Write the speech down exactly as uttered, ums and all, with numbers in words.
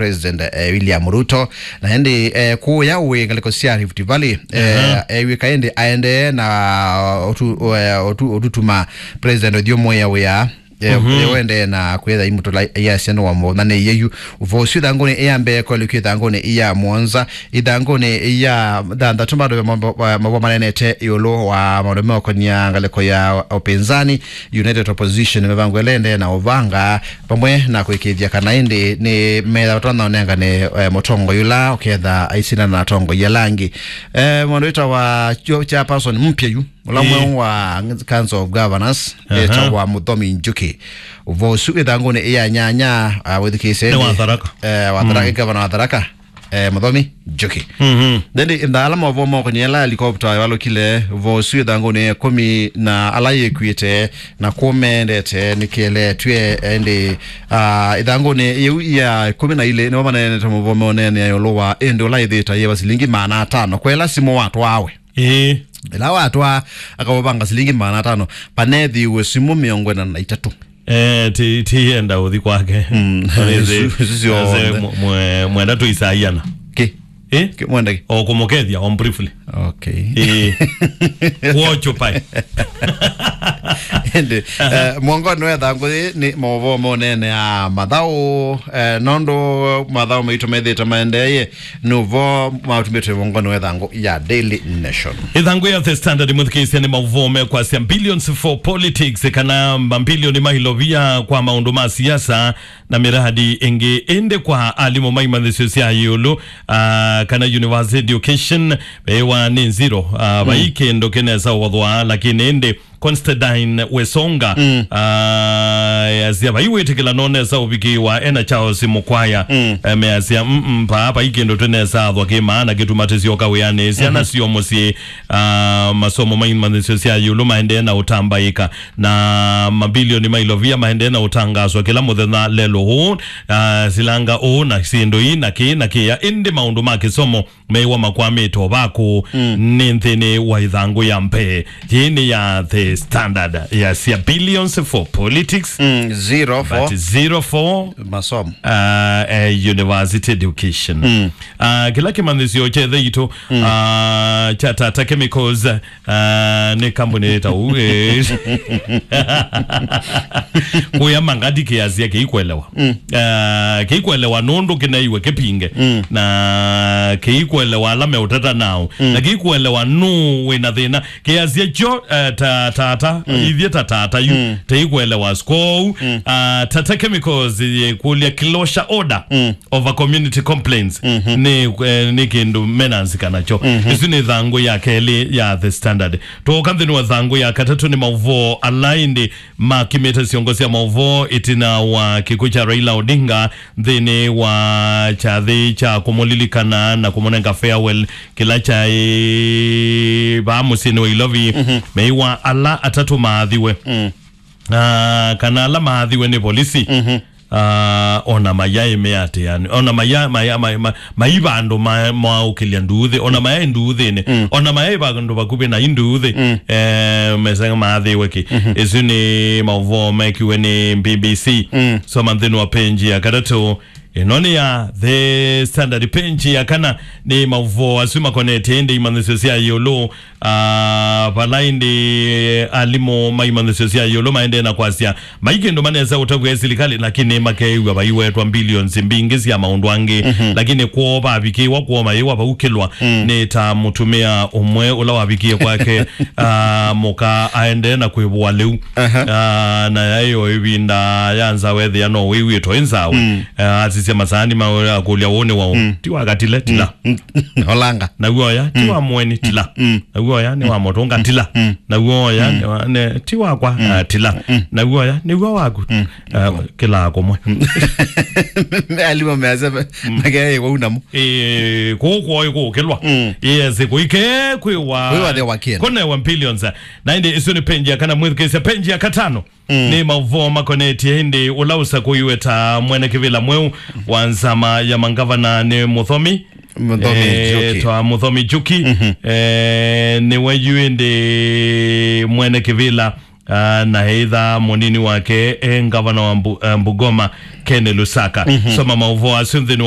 President, eh, William Ruto. Na ĩndĩ, eh, kũya ũĩ ngalĩko sya Rift Valley, eh, Aha. eh, wĩka ĩndĩ aendee na ũtu-, eh, ũtu-, ũtutuma President ũthyũmũĩa wĩa. Eh, Mhm. eh, wendee na kwĩtha imũtũla iasya nĩ wamũthanĩie yu. Ũvoo ũsu ĩthangũnĩ ya mbee kwelũkio ĩthangũnĩ ya mũonza, ĩthangũnĩ ya thanthatũ bado mavo manenete ĩũlũ wa maũndũ meũkonia ngalĩko ya ũpinzani. United Opposition mĩvango ĩla ĩendee na ũvanga vamwe na kũĩkĩĩthya kana ĩndĩ nĩ metha ũtonya ũnengane, eh, mũtongoi ũla ũketha aisindana na atongoi ala angĩ. Eh, mũndũ wĩtawa chairperson mpya yu, ũla Ĩĩ. mweũ wa Council of Governors, Aha. etawa Mũthomi Njuki. Ũvoo ũsu ĩthangũnĩ ya nyanya, ah, wĩthukĩĩsye Nĩ wa ĩndĩ, Tharaka. eh, wa Tharaka, Mm. gavana wa Tharaka, eh, Mũthomi Njuki. Mhm. Then ĩndĩ ala maũvoo maũkonie ala helikopta ĩvalũkile, ũvoo ũsu ĩthangũnĩ ya ĩkũmi na ala yĩkuĩte na kũmendete nĩkĩeleetw'e, ĩndĩ, ah, ĩthangũnĩ yĩu ya ĩkũmi na ilĩ nĩvo maneenete maũvoo meũneenea ĩũlũ wa ĩndĩ ũla ĩthĩĩte yĩva silingi maana atano. Kwela simũ watwawe. Ĩĩ. Ĩla watwaa akaũvanga silingi maana atano, panethiiwe simũ mĩongo ĩna na itatũ. Eh, ti, ti yenda ũthi kwake. Mm. Ĩĩ, isu, isu syonthe. Ase mwe-, mwe-, mwenda tũisaiana. Kĩ? Eh? Kĩ, mwenda kĩ? O kũmũkethya, o briefly. Okay. Ĩĩ. Kuocho pai. Ĩndĩ, Aha. eh, mwongoni wa ĩthangũ yĩ nĩ maũvoo monene a mathaũ, eh, nũndũ mathaũ maitũ methĩte maendeeye, nũvo matumĩte mwongoni wa ĩthangũ ya Daily Nation. Ĩthangũ ya The Standard, mwĩthukĩĩsya, nĩ maũvoo mekwasya billions for politics, kana mabilioni ma ilovia kwa maũndũ ma siasa na miradi ĩngĩ. Ĩndĩ kwa alimũ ma imanyĩsyo sya ĩũlũ, ah, kana university education, vewa nĩ zero, ah, vai Mm. kĩndũ kĩnesa ũvothwa, lakini ĩndĩ Constantine Wesonga, Mm. ah, easya vai wĩtĩkĩla nonesa ũvikĩwa ena Charles Mukwaya. Mm. Eh, measya, "Mm, mm, paa vai kĩndũ twĩnesa athwa kĩ maana kĩtuma tĩsyoka wĩanĩ. Syana Mhm. sio mũsyĩ, ah, masomo ma imanyĩsyo sya ĩũlũ maendee na ũtambaĩka, na mabilioni ma ilovia maendee na ũtangaswa kĩla mũthenya lelo ũũ, ah, silanga ũũ na syĩndũ ii na kĩĩ na kĩya, ĩndĩ maũndũ ma kĩsomo meiwa makwamĩte o vakũ Mm. nĩ nthĩnĩ wa ĩthangũ ya mbee." Yĩĩ nĩ ya The Standard, yasya billions for politics, Mm, zero for but zero for masomo. Uh, eh, university education. Mm. Uh, kĩla kĩmanyĩsyo kyethe itũ, Mm. uh, kya Tata Chemicals, uh, nĩ kambuni ta ũu, eh. Kũya mangati kĩasya kĩikwelewa. Mm. Uh, kĩikwelewa nũndũ kĩnaiwe kĩpinge. Mm. Na kĩikwelewa ala meũtata nao. Mm. Na kĩikwelewa nũ wĩna thĩna. Kĩasya kyo, uh, ta, Tata, Mm. ithyĩ ta Tata yu. Mm. Tĩikwelewa. Kwoou, Mm. uh, Tata Chemicals yĩkũlya closure order Mm. over community complaints. Mhm. Nĩ, eh, nĩ kĩndũ mena nzika nakyo. Mhm. Ĩsu nĩ thangũ ya kelĩ ya The Standard. Twoka nthĩnĩ wa thangũ ya katatũ nĩ maũvoo ala ĩndĩ makimĩte syongo sya maũvoo ĩtina wa kĩkw'ũ kya Raila Odinga nthĩnĩ wa kyathĩ kya kũmũlilikana na kũmũnenga farewell kĩla kyaĩ vaa mũsyĩnĩ wa Ilovi. Mhm. Meiwa ala atatũ maathiwe. Mm. Ah, kana ala maathiwe nĩ volisi. Mhm. Ah, ona mayaĩ mĩatĩanĩ, ona maya, maya, maya, ma-, mai vandũ ma-, maũkĩlya nduuthĩ, ona mayaĩ nduuthĩnĩ, Mm. ona mayaĩ vandũ vakuvĩ na i nduuthĩ, Mm. eh, mesanga maathĩwe kĩ. Mhm. Ĩsu nĩ maũvoo mekiwe nĩ B B C. Mm. Soma nthĩnĩ wa page ya katatũ. Ĩno nĩ ya The Standard, page ya kana, nĩ maũvoo asu makonetye ĩndĩ imanyĩsyo sya ĩũlũ. Ah, vala ĩndĩ alimũ ma imanyĩsyo sya ĩũlũ maendee na kwasya, mai kĩndũ manesa ũtavw'a silikalĩ, lakini makeew'a vaiwetwa billions mbingĩ sya maũndũ angĩ. Mhm. Lakini kwoo vavikĩwa, kwoo mayĩwa vaukĩlwa, Mm. nĩ ta mũtumĩa ũmwe ũla wavikie kwake, ah, mũka aendee na kwĩvũa lĩu. Aha. Ah, na yaĩ o ĩvinda ya nzawa ethĩa no wĩw'ĩtwe ĩ nzawa. Mm. Ah, asisya masaani ma akũlya ũũ nĩ waũ? Mm. Ti wa katile, tila. Mm. Olanga. Naw'o oya, ti Mm. wa mũeni, tila. Mm. Naw'o oya, nĩ wa mũtũnga, tila. Mm. Naw'o oya, Mm. nĩ wa, nĩ, ti wakwa, Mm. ah, tila. Mm. Naw'o oya, nĩw'o waku. Mm. Ah, kĩlaa kũmwe. Alimũ measya me-, Mm. makeeĩwa unamo. Eh, kũũ kwoo ĩkũũkĩlwa. Mm. Yes, kũike kwĩwa. Kwĩwa the wakienda. Kũnewa billions. Na ĩndĩ ĩsu nĩ page ya kana, mwĩthukĩĩsya page ya katano. Mm. Nĩ maũvoo makonetye ĩndĩ ũla ũsakũiwe ta mwene kĩvĩla mweũ wa nzama ya mangavana nĩ Mũthomi. Mũthomi Eh, Njuki. Twa Mũthomi Njuki. Mhm. Eh, nĩwe yu ĩndĩ mwene kĩvĩla, ah, na eitha mũnini wake, eh, ngavana wa Mbu-, eh, Bungoma, Ken Lusaka. Mhm. Soma maũvoo asu nthĩnĩ